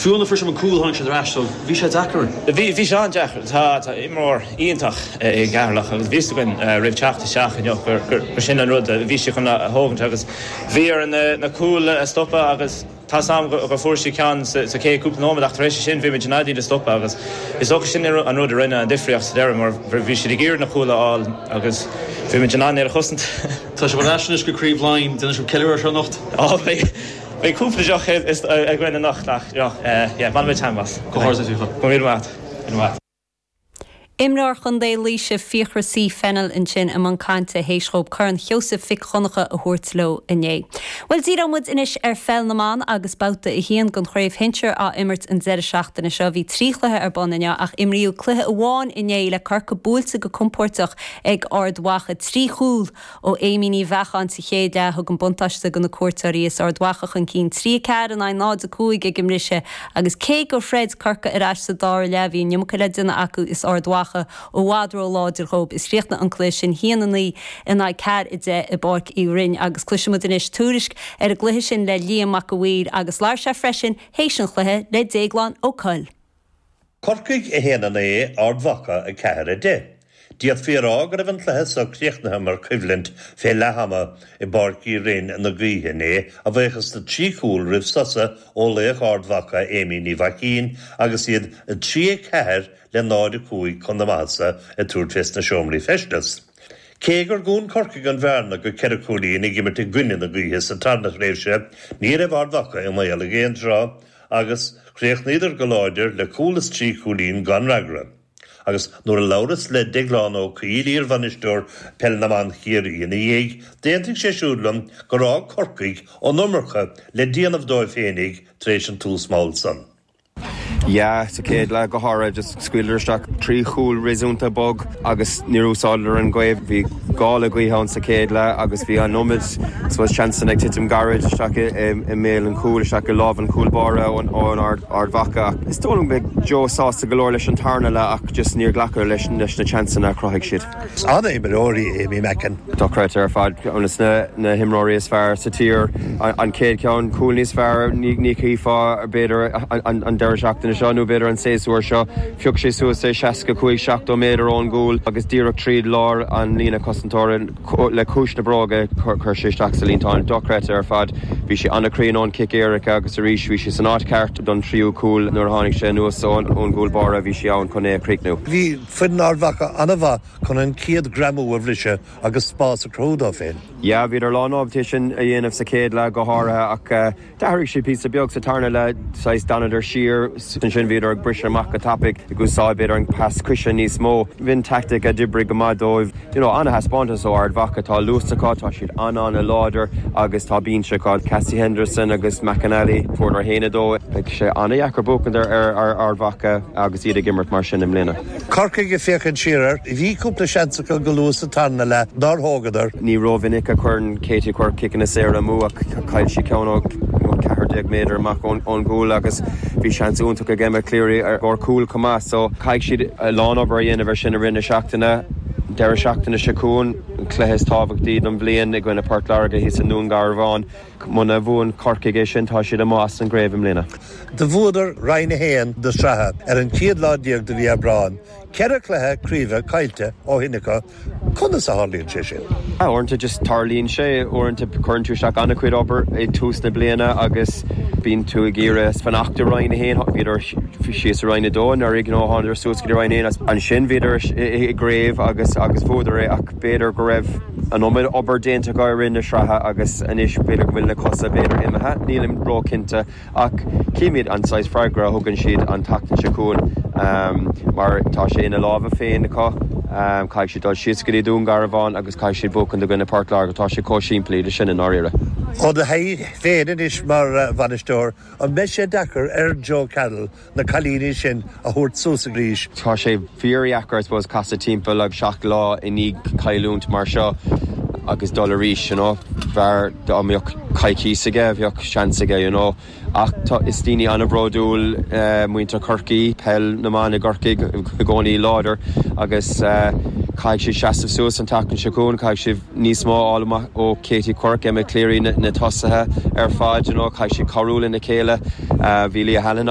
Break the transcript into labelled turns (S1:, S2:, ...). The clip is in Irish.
S1: Fiú nuair a fuair sibh an cúl tháinig siad ar ais so bhí sé deacair.
S2: Bhí, bhí sé an-deacair. Tá, tá imreoir iontach i gCeatharlach agus bhí fhios againn roimh teacht isteach inniu gur, gur, gur sin an rud a bhí siad chun a thógaint agus bhí orainn na, na cúil a stopadh agus tá's a'm go, gur fuair siad ceann sa, sa chéad cúpla nóiméad ach tar éis sin bhí muid in ann iad a stopadh agus is dócha sin an rud a rinne an difríocht sa deireadh mar bhí siad ag iarraidh na cúil a fháil agus bhí muid in ann iad a chosaint.
S1: Tá sibh ar ais anois go Craobh Laighean, déanfaidh sibh ceiliúradh ar seo anocht?
S2: Ó beidh, beidh cúpla deoch againn anocht ach yeah, bainfidh muid taitneamh as.
S1: Comhghairdeas leat,
S2: Fiachra. Go raibh míle maith agat. Míle maith.
S3: Imreoir Chontae Laoise Fiachra C Fennell ansin i mbun cainte théis dhóibh Corn Sheosaimh Mhic Dhonncha a thabhairt leo inné. Bhuel díreoidh muid anois ar pheil na mban agus babhta 1 den chraobh shinsir á imirt an deireadh seachtaine seo. Bhí 3 chluiche ar bun inniu ach imríodh cluiche amháin inné le Corcaigh buailte go compóirteach ag Ard Mhacha. 3 chúl ó Amy Ní Bheacháin sa chéad leath a thug an buntáiste do na cuairteoirí is Ard Mhacha chun cinn 3, 4 in aghaidh 0, 5 ag an mbriseadh agus cé gur throid Corcaigh ar ais sa dara leath bhí an iomarca le déanamh acu is Ard Mhacha i bhfad ró-láidir dhóibh is chríochnaigh an cluiche sin 1, 9 in aghaidh 4, 10 i bPáirc Uí Rinn agus cloisfidh muid anois tuairisc ar an gcluiche sin le Liam Mac a' Mhaoir agus labhair sé freisin théis an chluiche le Déaglán Ó Conaill.
S4: Corcaigh 1, 9, Ard Mhacha 4, 10. D'fhéadfaí a rá go raibh an cluiche so críochnaithe mar choimhlint fé leath ama i bPáirc Uí Rinn na gaoithe inné, a bhuíochas do thrí chúl roimh sosa ó laoch Ard Mhacha Amy Ní Mhaicín agus iad 3, 4 le 0, 5 chun na maitheasa ag tabhairt fés na seomraí feistis. Cé gur dhún Corcaigh an bhearna go ceithre chúilín ag imirt i gcoinne na gaoithe sa tarna thréimhse, ní raibh Ard Mhacha i mbaol ag aon tráth agus chríochnaíodar go láidir le cúl is trí chúilín gan fhreagra. Agus nuair a labhras le Deaglán Ó Cuill, iar-bhainisteoir Peil na mBan Chiarraí ina dhiaidh, d'aontaigh sé siúd liom gur fhág Corcaigh an iomarca le déanamh dóibh féinig tar éis an tús mall san.
S5: Yeah, sa chéad leath go háirithe, just scaoileadar isteach trí chúl réasúnta bog agus níor úsáideadar an ghaoth. Bhí gála gaoithe ann sa chéad leath agus bhí an iomad suppose seansanna ag titim gairid isteach i mbéal an chúil, isteach i lámh an chúl báire ón Ard Mhacha. Ach is dóigh liom go mbeidh Joe sásta go leor leis an tarna leath ach just níor glacadh leis na seansanna a chruthaigh siad.
S4: Is an-imreoir í Amy Mackin.
S5: Dochreidte ar fad, ceann de na himreoirí is fearr sa tír. An chéad cheann, cúl níos fearr, ní chífeá b'fhéidir an deireadh seachtaine seo nó b'fhéidir an séasúr seo. Phioc sé suas é 65, 70 méadar ón gcúl agus díreach tríd lár an líne cosantóra le cois na bróige chuir sé isteach sa líontán. Dochreidte ar fad. Bhí sé an-chruinn ón chic éirice agus arís bhí sé san áit cheart don tríú cúl nuair a tháinig sé anuas ón gcúl báire bhí sé ann chun é a chríochnú.
S4: Bhí foireann Ard Mhacha an-mhaith chun an chéad ghreamú a bhriseadh agus spás a chruthú dóibh féin.
S5: Yeah, bhíodar lán-ábalta é sin a dhéanamh sa chéad leath go háirithe ach d'athraigh siad píosa beag sa tarna leath, saghas d'fhanadar siar, ansin bhíodar ag briseadh amach go tapaidh, ag úsáid b'fhéidir an pas coise níos mó. B'in tactic a d'oibrigh go maith dóibh. You know, an-thaispeántas ó Ard Mhacha, tá luas acu, tá siad an-an-láidir agus tá binse acu. Cassie Henderson agus McAnally, fuaireadar 1-2. Beidh sé an-dheacair buachaint ar Ard Mhacha agus iad ag imirt mar sin i mbliana.
S4: Corcaigh ag féachaint siar air, bhí cúpla seans acu go luath sa tarna leath nár thógadar.
S5: Ní rómhinic a chuireann Katie Quirke ciceanna saora amú ach chaill sí ceann ó 14 méadar amach ón gcúl agus bhí seans iontach ag Emma Cleary ar chúl chomh maith so caithfidh siad a lán obair a dhéanamh ar sin i rith na seachtaine. Deireadh seachtaine seo chugainn, an cluiche is tábhachtaí don bhliain i gcoinne Port Láirge thíos i nDún Garbhán. Muna bhuann Corcaigh é sin, tá siad amuigh as an gcraobh i mbliana.
S4: Do bhuadar Roinn 1 na sraithe ar an chéad lá déag de mhí Aibreáin. Ceithre chluiche craoibhe caillte ó shin acu. Conas a tharlaíonn sé sin?
S5: Uaireanta just tarlaíonn sé. Uaireanta cuireann tú isteach an-chuid obair ag tús na bliana agus bíonn tú ag iarraidh fanacht i Roinn 1. Bhíodar síos i Roinn 2 anuraidh, you know, thánadar suas go dtí Roinn 1 ansin bhíodar i gcraobh agus agus bhuadar é ach b'fhéidir go raibh an iomad obair déanta acu i rith na sraithe agus anois b'fhéidir go bhfuil na cosa b'fhéidir imithe, nílim ró-chinnte ach cífimid an saghas freagra a thugann siad an tseachtain seo chugainn mar tá sé ina lámha féin acu, caithfidh siad dul síos go dtí Dún Garbhán agus caithfidh siad buachan i gcoinne Port Láirge, tá sé chomh simplí le sin i ndáiríre.
S4: Ó do thaithí féin anois mar bhainisteoir, an mbeidh sé deacair ar Joe Carroll na cailíní sin a thabhairt suas arís.
S5: Tá sé fíordheacair I suppose casadh timpeall ag 7 lá i ndiaidh cailliúint mar seo agus dul arís you know. B'fhearr dá mbeadh coicíos aige, bheadh seans aige you know. Ach tá, is daoine an-bhródúil muintir Chorcaí, peil na mban i gCorcaigh i gcónaí láidir agus caithfidh siad seasamh suas an tseachtain seo chugainn, caithfidh siad níos mó a fháil amach ó Katie Quirke, Emma Cleary, na tosaithe ar fad you know, caithfidh siad cabhrú lena chéile. Bhí Leah Hanlon.